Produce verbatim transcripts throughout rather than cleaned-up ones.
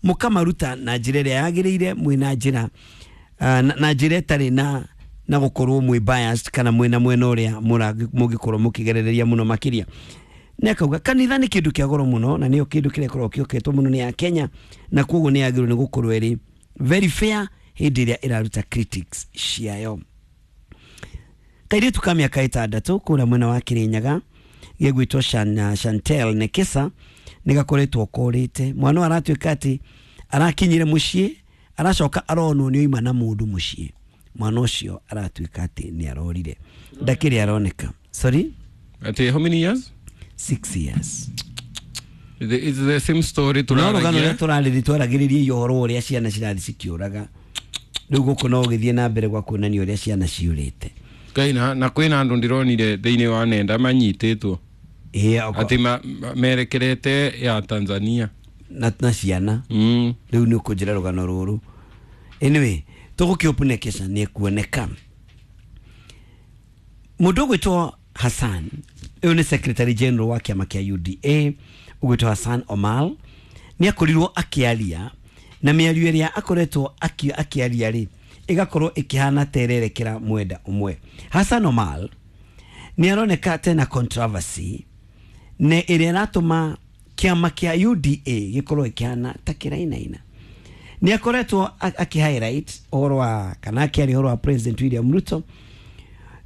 Mũkamaruta na njĩra ĩrĩa yagĩrĩire, mwĩna njĩra uh, na, na njĩra ĩtarĩ na na gũkorwo mwĩ biased kana mwĩna mwena ũrĩa mũngĩkorwo mũkĩgerereria mũno makĩria. Na akauga kanitha nĩ kĩndũ kĩa goro mũno na nĩyo kĩndũ kĩrĩa gĩkoragwo kĩhoketwo mũno nĩ Akenya, na koguo nĩ yagĩrĩirwo nĩ gũkorwo ĩrĩ very fair hĩndĩ ĩrĩa ĩraruta critics ciayo. Kairĩtu ka mĩaka ĩtandatũ kũrĩa mwena wa Kirinyaga gegwĩtwo Shan, Chantel Nekesa nĩ gakoretwo korĩte. Mwana ũyũ aratuĩka atĩ arakinyire mũciĩ aracoka aronwo nĩ oima na mũndũ mũciĩ. Mwana ũcio aratuĩka atĩ nĩ arorire, ndakĩrĩ aroneka. Sorry? Ati how many years? Six years. The, it's the same story no rũgano tũraragia. rũrĩa tũrarĩrĩ twaragĩrĩria ũhoro ũrĩa ciana cirathiĩ cikĩũraga, rĩu gũkũ no ũgĩthiĩ na mbere gwa kuonania ũrĩa ciana ciũrĩte. Ngai, na na kwĩna andũ ndĩronire thĩinĩ wa nenda manyitĩtwo Ĩĩ, oko- atĩ ma, ma, merekerete ya Tanzania na, na ciana mm. rĩu nĩ ũkũnjĩra rũgano rũrũ. Anyway, tũgũkĩopunekesha nĩ ekuoneka. Mũndũ ũgwĩtwo Hassan, ũyũ nĩ secretary general wa kĩama kĩa U D A, ũgwĩtwo Hassan Omar, nĩ akorirwo akĩaria na mĩario ĩrĩa akoretwo aki-, akĩaria rĩ ĩgakorwo ĩkĩhana ta ĩrerekera mwenda ũmwe. Hassan Omar nĩ aroneka tena controversy na ĩrĩa ĩratũma kĩama kĩa U D A gĩkorwo ĩkĩhana ta kĩrainaina. Nĩ akoretwo a-, akĩ-highlight ũhoro wa kana akĩaria ũhoro wa President William Ruto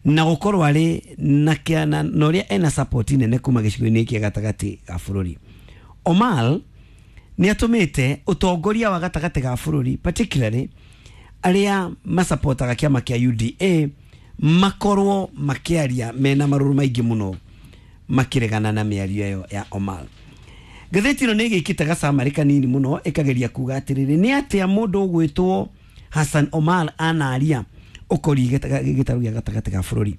na gũkorwo arĩ na kĩa-, na, na ũrĩa ena support nene kuma gĩcigo-inĩ gĩa gatagatĩ ga bũrũri. Omar nĩ atũmĩte ũtongoria wa gatagatĩ ga bũrũri particularly arĩa masapotaga kĩama kĩa U D A makorwo makĩaria mena marũrũ maingĩ mũno makĩregana na mĩario ĩyo ya Omar. Ngathĩti ĩno nĩ ĩgĩkĩte gacamarĩ kanini mũno ĩkageria kuga atĩrĩrĩ, nĩ atĩa mũndũ ũgwĩtwo Hassan Omar anaria ũkoriĩ gĩtarũ gĩa gatagatĩ ga bũrũri.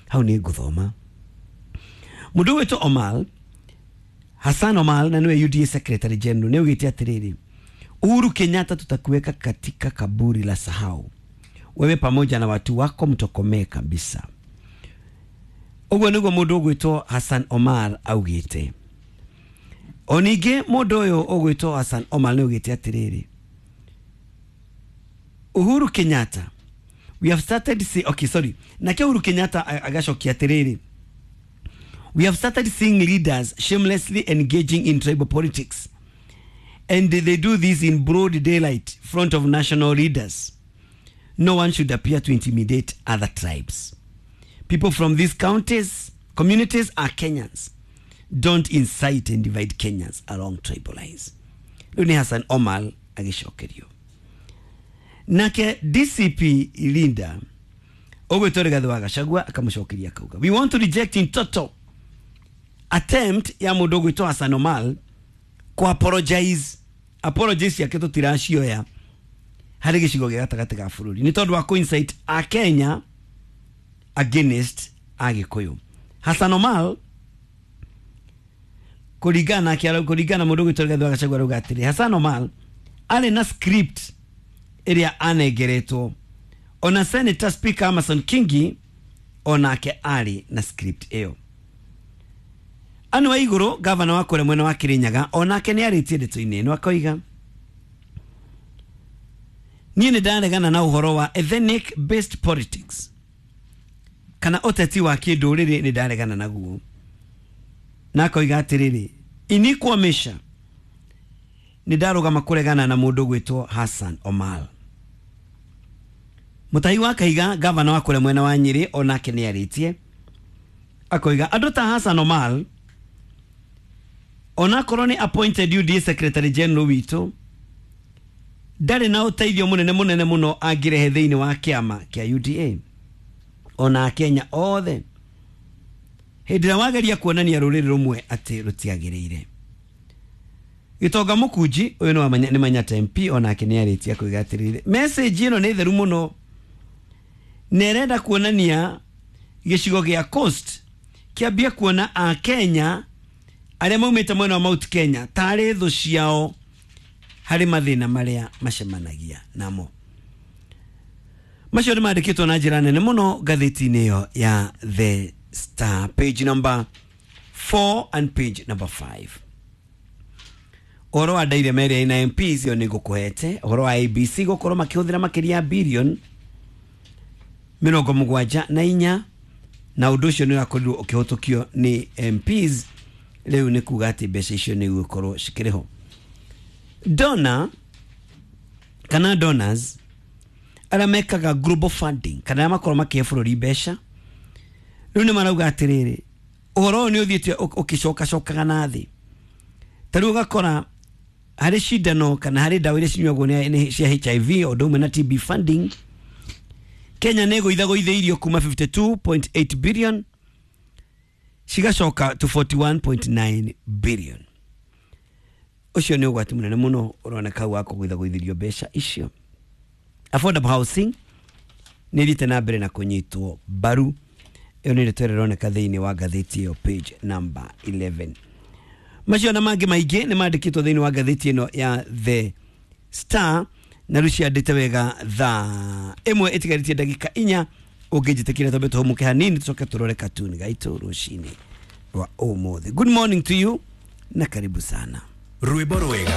Hau nĩ ngũthoma. Mũndũ ũgwĩtwo Omar, Hassan Omar, na nĩwe U D A Secretary General, nĩ augĩte atĩrĩrĩ, Uhuru Kenyatta tutakuweka katika kaburi la sahau, wewe pamoja na watu wako mtokomee kabisa. Ũguo nĩguo mũndũ ũgwĩtwo Hassan Omar augĩte. O ningĩ mũndũ ũyũ ũgwĩtwo Hassan Omar nĩ augĩte atĩrĩrĩ, Uhuru Kenyatta, we have started see, okay, sorry. Nake Uhuru Kenyatta agacokia atĩrĩrĩ, we have started seeing leaders shamelessly engaging in tribal politics, and they do this in broad daylight front of national leaders. No one should appear to intimidate other tribes. People from these counties, communities are Kenyans. Don't incite and divide Kenyans along tribal lines. Rĩu nĩ Hassan Omar agĩcokerio. Nake D C P Linda ũgwĩtwo Rigathĩ wa Gachagua akamũcokeria akauga, we want to reject in total attempt ya mũndũ ũgwĩtwo Hassan Omar ku apologize. Apologies yake tũtiracioya harĩ gĩcigo gĩa gatagatĩ ga bũrũri nĩ tondũ wa ku-incite a Kenya against Agĩkũyũ. Hassan Omar kũringana na kũringana mũndũ ũgwĩtwo Rigathĩ wa Gachagua arauga atĩrĩ, Hassan Omar arĩ na script ĩrĩa anengeretwo, ona Senator Speaker Amason Kingi onake arĩ na script ĩyo. Anne Waiguru gavana wa kũrĩa mwena wa Kirinyaga onake nĩ arĩtie ndeto-inĩ ĩno akoiga, niĩ nĩ ndaregana na ũhoro wa ethnic based politics kana ũteti wa kĩndũrĩrĩ, nĩ ndaregana naguo. Na akoiga atĩrĩrĩ, inikwamesha nĩ ndarũgama kũregana na mũndũ ũgwĩtwo Hassan Omar. Mutahi wa Kahiga gavana wa kũrĩa mwena wa Nyĩrĩ onake nĩ arĩtie akoiga andũ ta Hassan Omar onakorwo nĩ appointed U D A Secretary General witũ ndarĩ na ũteithio mũnene mũnene mũno angĩrehe thĩinĩ wa kĩama kĩa U D A ona Akenya othe hĩndĩ ĩrĩa wageria kuonania rũrĩrĩ rũmwe atĩ rũtiagĩrĩire. Gĩtonga Mũkunji ũyũ nĩ wa Manya-, nĩ Manyatta M P onake nĩ arĩtie akoiga atĩrĩrĩ, message ĩno nĩ theru mũno na ĩrenda kuonania gĩcigo gĩa Coast kĩambie kuona Akenya arĩa maumĩte mwena wa Mount Kenya tarĩ thũ ciao harĩ mathĩna marĩa macemanagia namo. Macio nĩ mandĩkĩtwo na njĩra nene mũno ngathĩti-inĩ ĩyo ya The Star, page number four and page number five. Ũhoro wa Daire ĩrĩa ĩna M Ps ĩyo nĩ ngũkũhete. Ũhoro wa A B C gũkorwo makĩhũthĩra makĩria ya billion mĩrongo mũgwanja na inya, na ũndũ ũcio nĩ ũrakorirwo ũkĩhũtũkio nĩ M Ps. Rĩu nĩ kuga atĩ mbeca icio nĩ igũkorwo cikĩrĩ ho. Donor kana donors arĩa mekaga global funding kana arĩa makorwo makĩhe bũrũri mbeca rĩu nĩ marauga atĩrĩrĩ, ũhoro ũyũ nĩ ũthiĩte ũgĩcokacokaga na thĩ. Ta rĩu ũgakora harĩ cindano kana harĩ ndawa iria cinyuagwo nĩ nĩ cia H I V o ũndũ ũmwe na T B funding, Kenya nĩ ĩgũithagũithĩirio kuma fifty-two point eight billion cigacoka to forty-one point nine billion. Ũcio nĩ ũgwati mũnene mũno ũroneka hau wa kũgũithagũithĩrio mbeca icio. Affordable housing nĩ ĩthiĩte na mbere na kũnyitwo mbaru. Ĩyo nĩ ndeto ĩrĩa ĩroneka thĩinĩ wa ngathĩti ĩyo, page number eleven. Macio na mangĩ maingĩ nĩ mandĩkĩtwo thĩinĩ wa ngathĩti ĩno ya The Star, na rĩu ciandĩte wega. Thaa ĩmwe ĩtigarĩtie ndagĩka inya, ũngĩnjĩtĩkĩra twambe tũhũmũke hanini, tũcoke tũrore katuni gaitũ rũcinĩ rwa ũmũthĩ. Good morning to you na karibu sana. Rwĩmbo rwega.